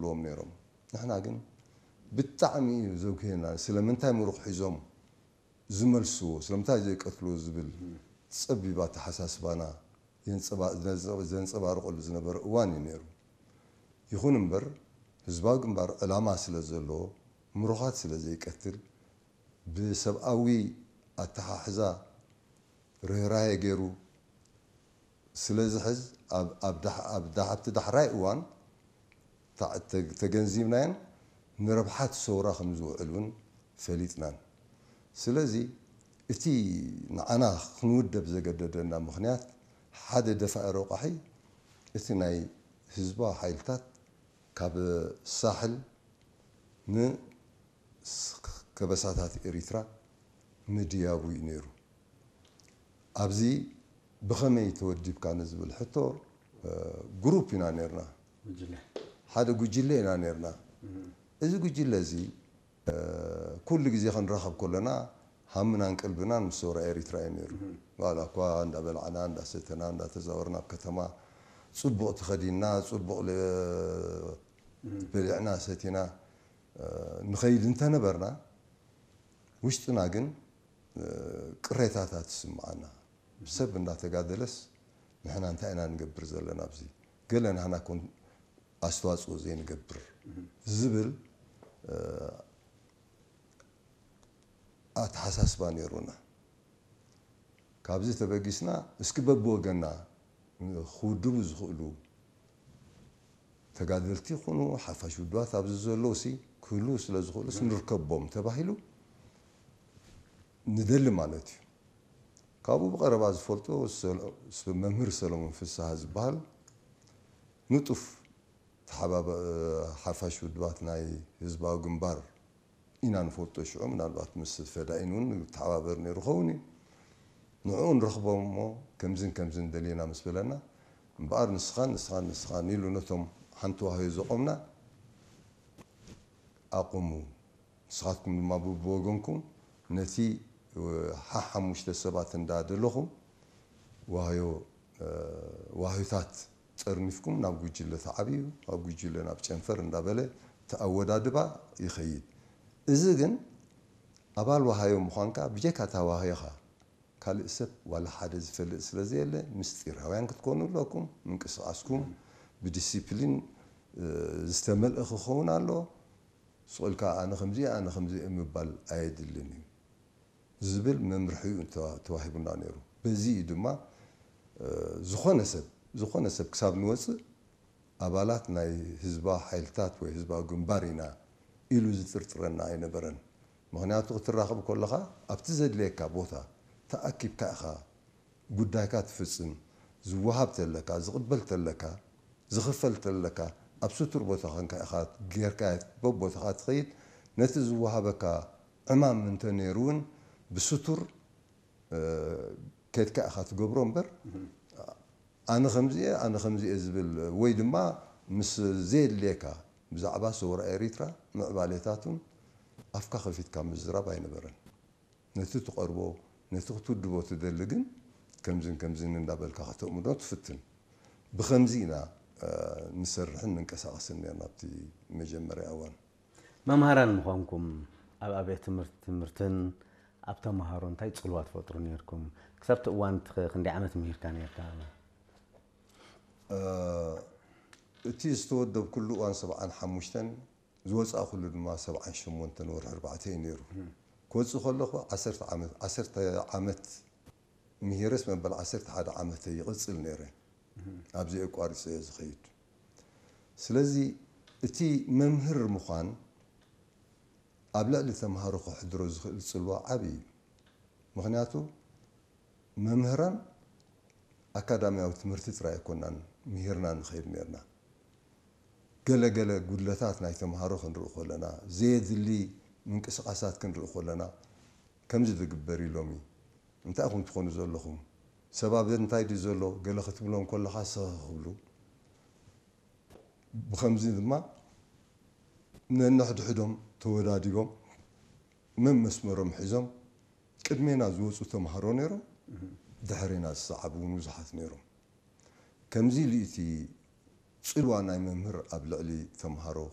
ኣለዎም ነይሮም። ንሕና ግን ብጣዕሚ እዩ ዘጉህየና። ስለምንታይ ምሩኽ ሒዞም ዝመልስዎ፣ ስለምንታይ ዘይቀትልዎ ዝብል ጸቢብ ኣተሓሳስባና የንጸባ-፣ ዘንጸ-፣ ዘንጸባርቐሉ ዝነበረ እዋን እዩ ነይሩ። ይኹን እምበር፣ ህዝባዊ ግንባር ዕላማ ስለ ዘለዎ፣ ምሩኻት ስለ ዘይቀትል፣ ብሰብኣዊ ኣተሓሕዛ ርህራሄ ገይሩ ስለ ዝሕዝ፣ ኣብ፣ ኣብ ዳሕ-፣ ኣብ ዳ-፣ ኣብቲ ዳሕራይ እዋን ተዓ-፣ ተ-፣ ተገንዚብናዮን ንረብሓት ሰውራ ከም ዝውዕል እውን ፈሊጥናን። ስለዚ እቲ ንዓና ክንውደብ ዘገደደና ምኽንያት ሓደ ደፋኢ ረቋሒ እቲ ናይ ህዝባዊ ሓይልታት ካብ ሳሕል ን ስ-፣ ከበሳታት ኤሪትራ ምድያቡ እዩ ነይሩ። ኣብዚ ብኸመይ ተወዲብካ ንዝብል ሕቶ፣ እ፣ ግሩፕ ኢና ነርና። ጉጅለ። ሓደ ጉጅለ ኢና ነርና። እም። እዚ ጉጅለ እዚ፣ እ፣ ኩሉ ግዜ ክንራኸብ ከለና ሃምናን ቀልብናን ምስ ሰውራ ኤሪትራ እዩ ነይሩ። እም። ዋላ እኳ እንዳበላዕና፣ እንዳሰተና፣ እንዳተዛወርና ኣብ ከተማ ጽቡቕ ተኸዲንና፣ ጽቡቕ ለ-፣ እም። በሊዕና፣ ሰቲና፣ እ፣ ንኸይድ እንተነበርና፣ ውሽጥና ግን፣ እ፣ ቅሬታታት ይስምዓና። ሰብ እንዳተጋደለስ ንሕና እንታይ ኢና ንገብር ዘለና ኣብዚ? ገለ ናህና ኮን ኣስተዋጽኦ ዘይንገብር ዝብል፣ እ፣ ኣተሓሳስባ ነይሩና። ካብዚ ተበጊስና እስኪ በብወገንና ክውድቡ ዝኽእሉ ተጋደልቲ ይኹኑ ሓፋሽ ውድባት ኣብዚ ዘለዉ ሲ ክህልዉ ስለ ዝኽእሉስ ንርከቦም ተባሂሉ ንደሊ ማለት እዩ። ካብኡ ብቐረባ ዝፈልጦ ሰሎ-፣ ስ-፣ መምህር ሰሎሞን ፍስሃ ዝበሃል ንጡፍ ተሓባበ-፣ ሓፋሽ ውድባት ናይ ህዝባዊ ግንባር ኢና ንፈልጦ። ሽዑ ምናልባት ምስ ፈዳኢን እውን ንተሓባበር ነይሩ ኸውን እዩ። ንዕኡ ንረኽቦ እሞ ከምዝን ከምዝን ደሊና ምስ በለና፣ እምበኣር ንስኻን ንስኻን ንስኻን ኢሉ ነቶም ሓንቲ ዋህዮ ዘቖምና ኣቑሙ። ንስኻትኩም ድማ ብብወገንኩም ነቲ፣ እ፣ ሓሓሙሽተ ሰባት እንዳደለኹም ዋህዮ፣ እ፣ ዋህዮታት ጠርኒፍኩም ናብ ጉጅለ ተዓብዩ፣ ኣብ ጉጅለ ናብ ጨንፈር እንዳበለ እቲ ኣወዳድባ ይኸይድ። እዚ ግን ኣባል ዋሃዮ ምዃንካ ብጀካ እታ ዋህዮኻ ካልእ ሰብ ዋላ ሓደ ዝፈልጥ ስለ ዘየለ ምስጢራውያን ክትኮኑ ኣለኩም። ምንቅስቓስኩም ብዲሲፕሊን፣ እ፣ ዝተመልአ ክኸውን ኣለዎ። ስቕ ኢልካ ኣነ ከምዚ፣ ኣነ ከምዚ ምባል ኣየድልን እዩ ዝብል መምርሒ እዩ ተዋ-፣ ተዋሂቡና ነይሩ። በዚ እዩ ድማ፣ እ፣ ዝኾነ ሰብ፣ ዝኾነ ሰብ ክሳብ ንወፅእ ኣባላት ናይ ህዝባዊ ሓይልታት ወይ ህዝባዊ ግንባር ኢና ኢሉ ዝጥርጥረና ኣይነበረን። ምኽንያቱ ክትራኸብ ከለኻ ኣብቲ ዘድልየካ ቦታ ተኣኪብካ ኢኻ ጉዳይካ ትፍጽም። ዝወሃብ ተለካ፣ ዝቕበል ተለካ፣ ዝኽፈል ተለካ፣ ኣብ ስቱር ቦታ ኾንካ ኢኻ ጌርካ በቦታኻ ትኸይድ። ነቲ ዝወሃበካ ዕማም እንተ ነይሩ እውን ብስቱር፣ እ፣ ከድካ ኢኻ ትገብሮ እምበር፣ ኣነ ከምዚ እየ፣ ኣነ ከምዚ እየ ዝብል ወይ ድማ ምስ ዘየድልየካ ብዛዕባ ሰውራ ኤሪትራ ምዕባሌታቱን ኣፍካ ከፊትካ ምዝራብ ኣይነበረን። ነቲ ትቐርቦ፣ ነቲ ክትውድቦ ትደሊ ግን ከምዝን ከምዝን እንዳበልካ ከተእምኖ ትፍትን። ብኸምዚ ኢና፣ እ፣ ንሰርሕን ንንቀሳቐስን ነርና ኣብቲ መጀመርያ እዋን። መምሃራን ምዃንኩም ኣብ ኣብያተ ትምህርቲ፣ ትምህርትን ኣብ ተምሃሮ እንታይ ጽልዋ ትፈጥሩ ነርኩም? ክሳብ እቲ እዋን እቲ ኸ ክንደይ ዓመት ምሂርካ ነርካ? እ፣ እቲ ዝተወደብኩሉ እዋን ሰብዓን ሓሙሽተን፣ ዝወጻእኩሉ ድማ ሰብዓን ሸሞንተን ወርሒ ኣርባዕተ እዩ ነይሩ። ክወጽእ ከለኹ ዓሰርተ ዓመት፣ ዓሰርተ ዓመት ምሂረስ መበል ዓሰርተ ሓደ ዓመተ ይቕጽል ነይረ። ኣብዚ ኣቋሪጸ እየ ዝኸይድ። ስለዚ እቲ መምህር ምዃን ኣብ ልዕሊ ተምሃሮ ከሕድሮ ዝኽእል ጽልዋ ዓቢ እዩ። ምኽንያቱ መምህራን ኣካዳሚያዊ ትምህርቲ ጥራይ ኣይኮናን ምሂርና ንኸይድ ነርና። ገለ ገለ ጉድለታት ናይ ተምሃሮ ክንርኢ ከለና፣ ዘየድሊ ምንቅስቓሳት ክንርኢ ከለና፣ ከምዚ ዝግበር እዩ ሎሚ። እንታይ ኢኹም ትኾኑ ዘለኹም? ሰብ ኣብ እንታይ ድዩ ዘሎ? ገለ ክትብሎም ከለኻ ስኽ ክብሉ። ብኸምዚ ድማ ነንሕድሕዶም ተወዳዲቦም መመስመሮም ሒዞም ቅድሜና ዝወፁ ተምሃሮ ነይሮም፣ ድሕሬና ዝሰዓቡ እውን ብዙሓት ነይሮም። ከምዚ ኢሉ እቲ ፅልዋ ናይ መምህር ኣብ ልዕሊ ተምሃሮ